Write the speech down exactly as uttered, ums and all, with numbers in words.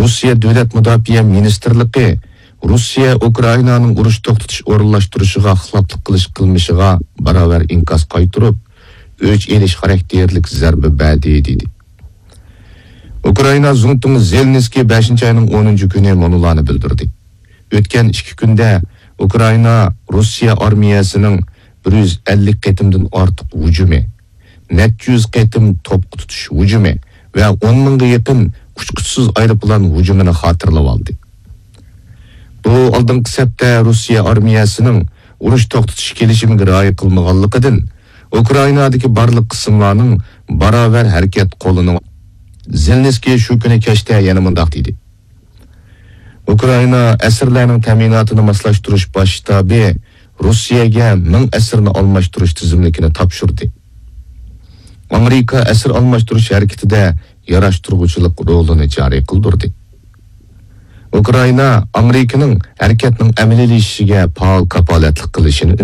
روسىيە دۆلەت مۇداپىئە مىنىستىرلىقى روسىيە ئۇكرائىنانىڭ ئۇرۇش توختىتىش ئورۇنلاشتۇرۇشىغا خىلاپلىق قىلىش قىلمىشىغا باراۋەر ئىنكاس قايتۇرۇپ، ئۆچ ئېلىش خاراكتېرلىك زەربە بەردى، دېدى. ئۇكرائىنا زۇڭتۇڭى زېلېنسكىي بەشىنچى ئاينىڭ ئونىنچى كۈنى مۇنۇلارنى بىلدۈردى. ئۆتكەن ئىككى كۈندە ئۇكرائىنا روسىيە ئارمىيەسىنىڭ بىر يۈز ئەللىك قېتىمدىن ئارتۇق ھۇجۇمى، نەچچە يۈز قېتىم توپقا تۇتۇش ھۇجۇمى ۋە ئون مىڭغا يېقىن ئۇچقۇچىسىز ئايروپىلان ھۇجۇمىنى خاتىرىلىۋالدى. بۇ ئالدىنقى سەپتە روسىيە ئارمىيەسىنىڭ ئۇرۇش توختىتىش كېلىشىمىگە رىئايە قىلمىغانلىقىدىن، ئۇكرائىنادىكى بارلىق قىسىملارنىڭ باراۋەر ھەرىكەت قولىنىڭ. زېلېنسكىي شۇ كۈنى كەچتە يەنە مۇنداق دېدى: ئۇكرائىنا ئەسىرلەرنىڭ تەمىناتىنى ماسلاشتۇرۇش باش شتابى روسىيەگە مىڭ ئەسىرنى ئالماشتۇرۇش تىزىملىكىنى تاپشۇردى. ئامېرىكا ئەسىر ئالماشتۇرۇش ھەرىكىتىدە ياراشتۇرغۇچىلىق رولىنى جارى قىلدۇردى. ئۇكرائىنا ئامېرىكىنىڭ ھەرىكەتنىڭ ئەمەلىيلىشىشىگە پائال كاپالەتلىك قىلىشىنى